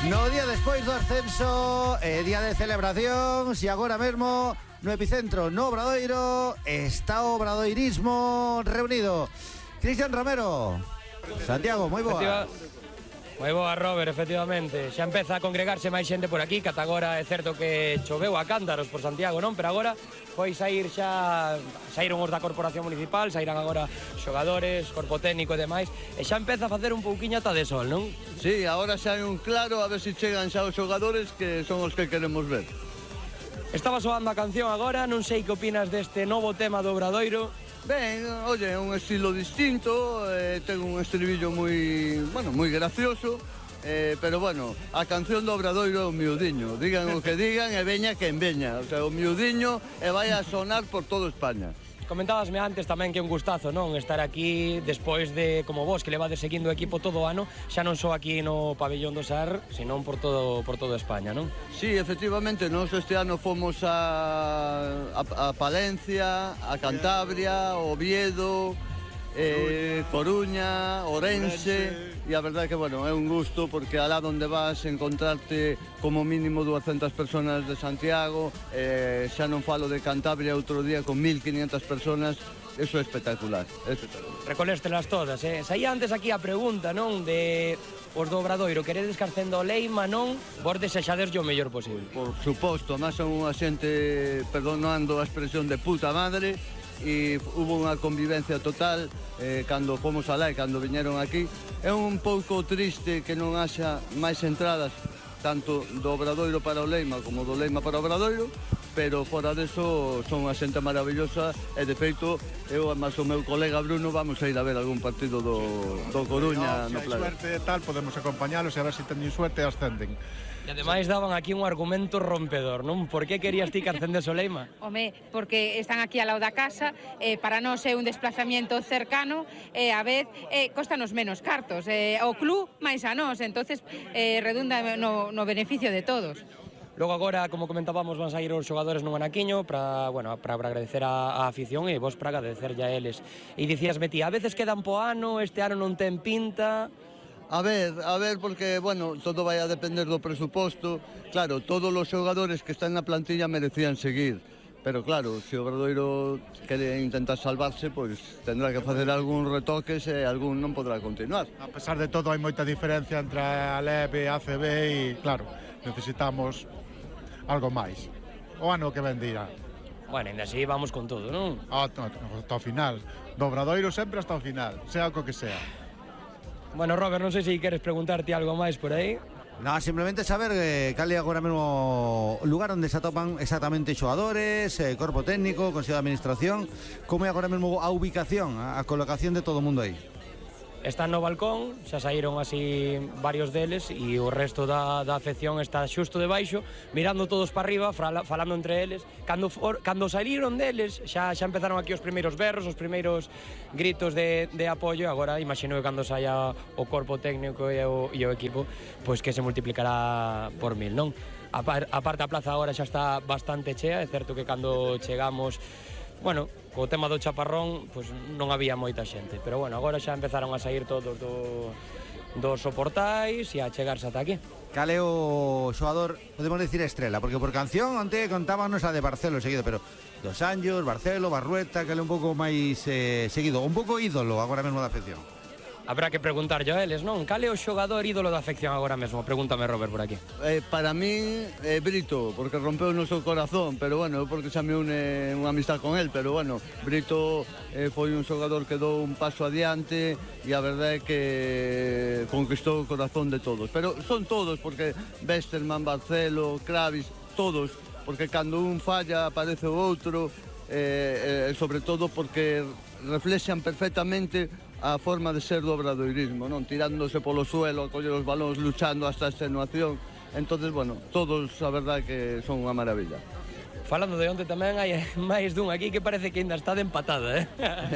No día despois do ascenso, día de celebración, e agora mesmo no epicentro, no Obradoiro, está o obradoirismo reunido. Cristian Romero, Santiago, moi boa. Moi boa, Robert, efectivamente. Xa empeza a congregarse máis xente por aquí, que ata agora é certo que choveu a cántaros por Santiago, non? Pero agora foi saíron os da Corporación Municipal, saíran agora xogadores, corpo técnico e demais, e xa empeza a facer un pouquiño ata de sol, non? Sí, agora xa hai un claro, a ver se chegan xa os xogadores que son os que queremos ver. Estaba soando a canción agora, non sei que opinas deste novo tema do Obradoiro. Ben, oye, é un estilo distinto, ten un estribillo moi gracioso, pero bueno, a canción do Obradoiro é o miudiño, digan o que digan e veña quen veña, o sea, o miudiño e vai a sonar por toda España. Comentábasme antes tamén que é un gustazo, non? Estar aquí despois de, como vos, que levades seguindo o equipo todo o ano, xa non só aquí no pabellón do Sar, senón por toda España, non? Sí, efectivamente, nós este ano fomos a Palencia, a Cantabria, Oviedo, Coruña, Ourense, e a verdade que, bueno, é un gusto porque alá onde vas encontrarte como mínimo 200 personas de Santiago, xa non falo de Cantabria outro día con 1500 personas, eso é espectacular, Recoléstelas todas, Saía antes aquí a pregunta, non, de os do Obradoiro, queredes que ascenda o Leima, non? Vos desexaderlle o mellor posible. Por suposto, máis son unha xente, perdonando a expresión, de puta madre, e hubo unha convivencia total cando fomos alá e cando viñeron aquí. É un pouco triste que non haxa máis entradas tanto do Obradoiro para o Leima como do Leima para o Obradoiro, pero fora deso son unha xente maravillosa e de feito eu e máis o meu colega Bruno vamos a ir a ver algún partido do Coruña no Playa. Se hai suerte e tal, podemos acompañalos e a ver se teñen suerte e ascenden. E ademais daban aquí un argumento rompedor, non? Por que querías ti que ascendese o Leima? Home, porque están aquí ao lado da casa, para nós é un desplazamiento cercano e a vez costanos menos cartos, o club máis a nós, entonces redunda no beneficio de todos. Logo agora, como comentábamos, van sair os xogadores nun anaquiño para agradecer a afición e vos para agradecerlle a eles. E dicías, Betty, a veces quedan po ano, este ano non ten pinta. A ver, porque, bueno, todo vai a depender do presuposto. Claro, todos os xogadores que están na plantilla merecían seguir. Pero claro, se o Obradoiro quere intentar salvarse, pois tendrá que facer algún retoques e algún non podrá continuar. A pesar de todo, hai moita diferencia entre a LEB e a ACB e, claro, necesitamos algo máis. O ano que ven dirá. Bueno, ainda así vamos con todo, non? Hasta o final. Do Obradoiro sempre hasta o final, sea o que sea. Bueno, Robert, non sei se queres preguntarte algo máis por aí. No, simplemente saber cal é agora mesmo o lugar onde se atopan exactamente xogadores, corpo técnico, Consello de Administración, como é agora mesmo a ubicación, a colocación de todo o mundo aí. Están no balcón, xa saíron así varios deles e o resto da afección está xusto debaixo, mirando todos para arriba, falando entre eles. Cando saíron deles, xa empezaron aquí os primeiros berros, os primeiros gritos de apoio. Agora imagino que cando saia o corpo técnico e o equipo, pois que se multiplicará por 1000, non? A parte a plaza agora xa está bastante chea, é certo que cando chegamos, bueno, co tema do chaparrón, pois non había moita xente, pero bueno, agora xa empezaron a sair todos dos soportais e a chegarse ata aquí. Cal é o xogador, podemos decir estrela, porque por canción onte contábanos a de Barcelo seguido, pero Dos Anjos, Barcelo, Barrueta, cal é un pouco máis seguido, un pouco ídolo agora mesmo da afección. Habrá que preguntarlle a eles, non? Cal é o xogador ídolo da afección agora mesmo? Pregúntame, Robert, por aquí. Para mí é Brito, porque rompeu o noso corazón, pero bueno, porque xa me une unha amistad con él, pero bueno, Brito foi un xogador que dou un paso adiante e a verdade é que conquistou o corazón de todos. Pero son todos, porque Westerman, Barcelo, Kravis, todos, porque cando un falla aparece o outro, sobre todo porque reflexan perfectamente a forma de ser do obradoirismo, non? Tirándose polo suelo, a coller os balóns, luchando hasta a extenuación. Entonces, bueno, todos a verdade que son unha maravilla. Falando de onte tamén hai máis dun aquí que parece que ainda está de empatada,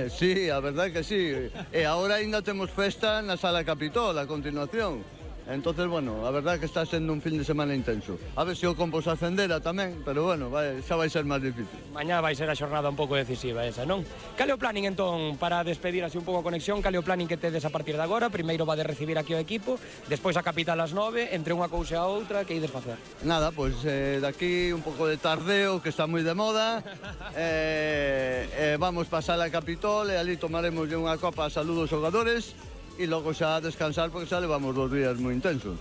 Sí, a verdade que sí. E agora ainda temos festa na Sala Capitol a continuación. Entonces, bueno, a verdad que está sendo un fin de semana intenso. A ver se o Compos ascendera tamén, pero bueno, xa vai ser máis difícil. Mañá vai ser a xornada un pouco decisiva esa, non? Cale o planning entón para despedir así un pouco a conexión? Cale o planning que tedes a partir de agora? Primeiro va de recibir aquí o equipo, despois a capital ás 9, entre unha cousa e a outra, que ides facer? Nada, pois daqui un pouco de tardeo, que está moi de moda. Vamos pasar a Capitol e ali tomaremos unha copa a saludo aos xogadores e logo xa a descansar porque xa levamos 2 días moi intensos.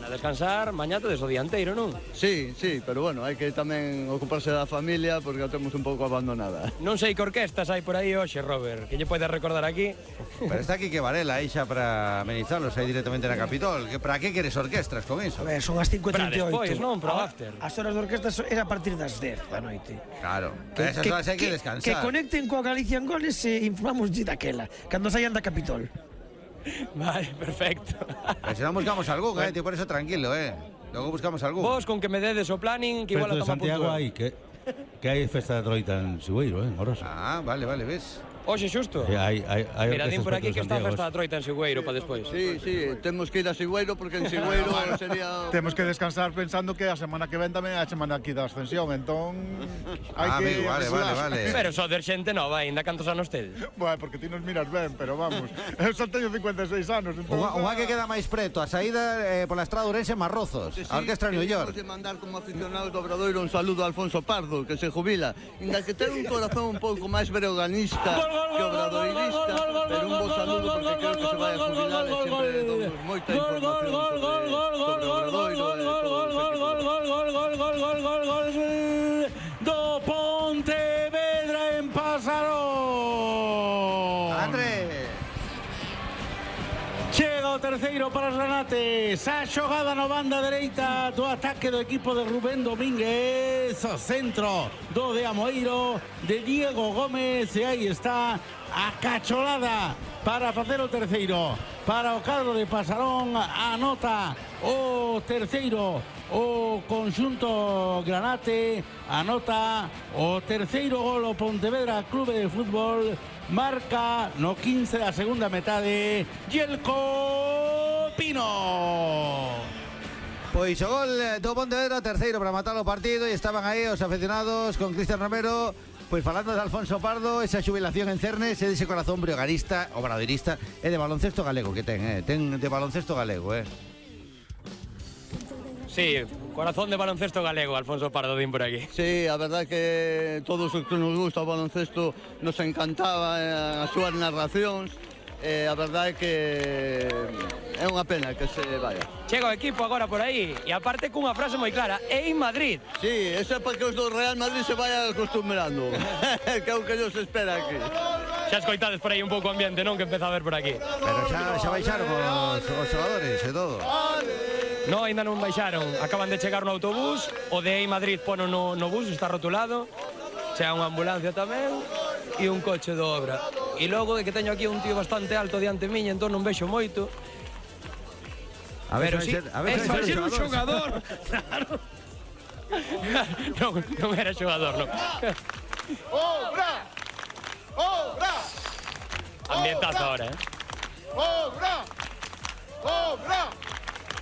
A descansar, mañá tedes o dianteiro, non? Sí, pero bueno, hai que tamén ocuparse da familia porque a temos un pouco abandonada. Non sei que orquestas hai por aí hoxe, Robert, que lle podes recordar aquí. Pero está aquí que Varela aí xa para amenizarlos aí directamente na Capitol. Para que queres orquestras con iso? A ver, son as 5:38. Para despois, non? Para o after. As horas de orquestas era a partir das 10 da noite. Claro, esas horas hai que descansar. Que conecten coa Galicia en Goles e informamos daquela, cando saian da Capitol. Vale, perfecto. Pero se non buscamos algún, tío, por eso tranquilo, Logo buscamos algún. Vos con que me dedes o planning, que igual a de toma Santiago puntual. hai que hai festa de troita en Sigüeiro, en Orosa. Ah, vale, ves. Hoxe xusto. Hai Mira, din orquestas por aquí que está a Santiago, festa da Troita en Sigüeiro para despois. Sí, temos que ir a Sigüeiro porque en Sigüeiro sería... Temos que descansar pensando que a semana que ven tamén é a semana aquí da ascensión, entón hai que... Amigo, vale. Pero só de xente nova, ainda cantos anos tedes? Bueno, porque ti nos miras ben, pero vamos, eu só teño 56 anos, entón... Unha que queda máis preto, a saída pola estrada Ourense Marrozos, a Orquestra New York. Queremos mandar como aficionados do Obradoiro un saludo a Alfonso Pardo, que se jubila, inda que ten un corazón un pouco máis breoganista que obradoirista, pero un bo saludo porque creo que se vai a jubilar e sempre damos moita información sobre Obradoiro e Gol do Pontevedra en Pasarón. André. Chega o terceiro para os granates. A xogada no banda dereita do ataque do equipo de Rubén Domínguez. O centro do de Amoeiro, de Diego Gómez. E aí está a cacholada para facer o terceiro. Para o cadro de Pasarón, anota o terceiro o conxunto granate, anota o terceiro gol o Pontevedra Clube de Fútbol, marca no 15 da segunda metade Yelko Pino. Pois o gol do Pontevedra, terceiro para matar o partido, e estaban aí os aficionados con Cristian Romero. Pois falando de Alfonso Pardo, esa xubilación en Cernes e dese corazón breoganista, obradoirista e de baloncesto galego que ten de baloncesto galego, Sí, corazón de baloncesto galego, Alfonso Pardo, din por aquí. Sí, a verdad que todos os que nos gusta o baloncesto nos encantaba as súas narracións. A verdade é que é unha pena que se vaya. Chega o equipo agora por aí e aparte cunha frase moi clara: "É en Madrid". Sí, eso é para que os do Real Madrid se vayan acostumbrando. Que é o que nos espera aquí. Xa escoitades por aí un pouco o ambiente, non? Que empeza a ver por aquí. Pero xa baixaron os xogadores e todo. No, ainda non baixaron. Acaban de chegar no autobús. O de Madrid pono no bus, está rotulado. Chega unha ambulancia tamén e un coche de obra. E logo é que teño aquí un tío bastante alto diante miña, entón non vexo moito. A ver, pero sí, vai ser un xogador. Claro. Non era xogador, non. ¡Obra! ¡Obra! Ambientazo ahora, ¡Obra! ¡Obra!